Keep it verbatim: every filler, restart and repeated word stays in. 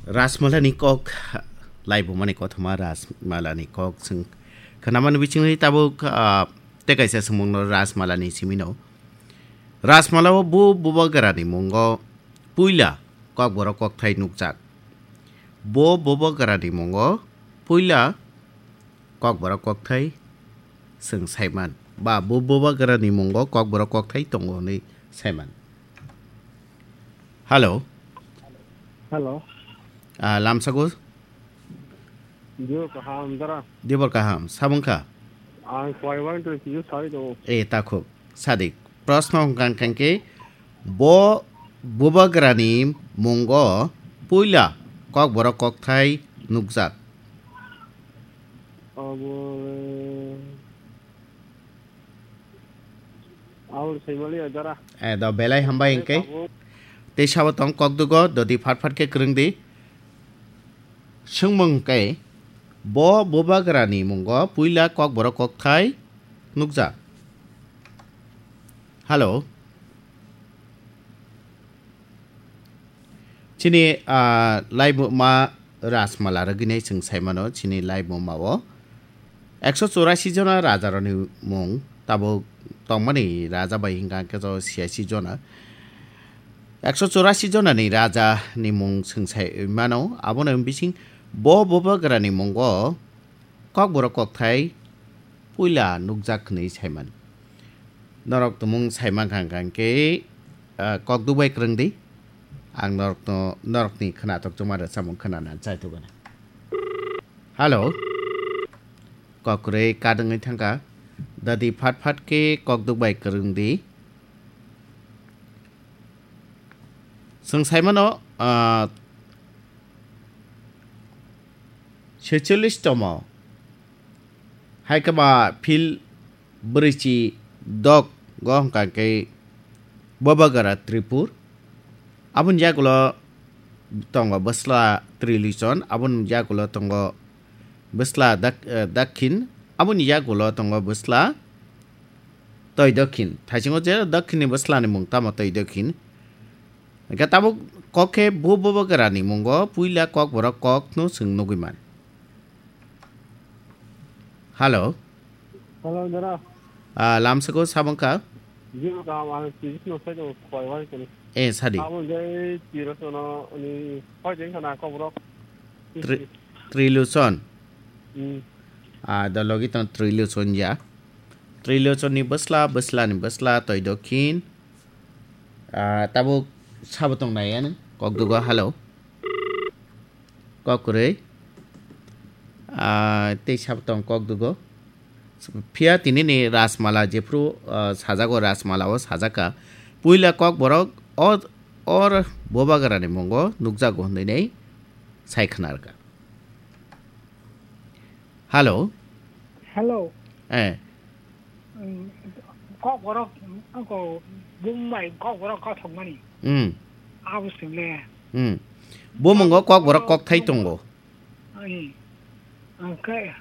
Rajmalani kok, laibumani kothoma Rajmalani kok chwng khnamani bisingni tabuk, ah, tei kaisa swngmungno Rajmalani simino. Rajmalao bo bubagrani mungo puila kokborok kokthai nukjak. Bo bubagrani mungo puila kokborok kokthai chwng saiman. Ba bo bubagrani mungo kokborok kokthai tongo hwnwi saiman. Hello. Hello. Ah, lamsago? Dibor kaham, dara. Dibor kaham, sabung kha? Ang kwai wang tong kiyo sai do. E, takhuk. Sadik. Proshno hwnkha hwnkhe bo bubagrani mungo puila kokborok kokthai nukjak. Abo, eh, Aboni saimaliya dara. Eh, do belai hambai hingke. Abo. Tei sabo tong kokdugo, dodi phat phat khe kwrwng di. Swngmung hingke, bo bubagrani mungo puila kokborok kokthai nukjak. Hello. Chini, ah, laibuma Rajmala rwgwinai chwng saimano, chini laibuma o ekso chorasi jona rajarokni mung tabuk tongmani raja bai hingka hingke jo siyaisi jona. Ekso chorasi jonani rajani mung chwng saimano, abono bising bo bubagrani mungo Kokborok kokthai puila nukjak hwnwi saiman. Norok tumung saimankha hwnkhe, ah, kok dukbai kwrwng di. Ang norokno, norokni khwnathok chuma rwchapmung khwnana chaithugana. Hello. Kok kwrwi kadwngwi thangkha. Dadi phat phat khe kok dukbai kwrwng di. Chwng saimano, ah, Secholish tomo. Hai khe ba phil bwrwichi dok go hwnkha khe Bobagara Tripur. Aboni yagulo tongo bwsla Trilochon, aboni yagulo tongo bwsla dak-, eh, Dakhin, aboni yagulo tongo bwsla Toi Dakhin. Thaisingo je Dakhinni bwslani mung tamo Toi Dakhin. Hingke tabuk kok khe bo Bobagrani mungo puila kokborok kokno chwng nugwi man. Hello. Hello, dara. Ah, lamsako sabong kha? Jiro kaham, ang tijis no sai do khwai wai kani. Eh, sadi. Abo jai tiro sono ni khoi den khana kokborok. Tri-, Trilochon. Hmm. Ah, da logi tong Trilochon ya. Trilochon ni bwsla, bwsla ni bwsla, Toi Dakhin. Ah, tabuk sabo tong nai ano, kokdugo, hello. Kok kwrwi. Ah, tei sabo tong kokdugo. Phiya tini ni Rajmala jephru, ah, sajago Rajmala o sajaka. Puila kokborok o, or Bobagrani mungo nukjago hwnwi nai sai khwnarkha. Hello. Hello. Eh. Mm, kokborok, ako, bumbai kokborok kothokmani. Mm. Abo swngle. Mm. Bumungo kokborok kokthai tongo. Ai. Angke,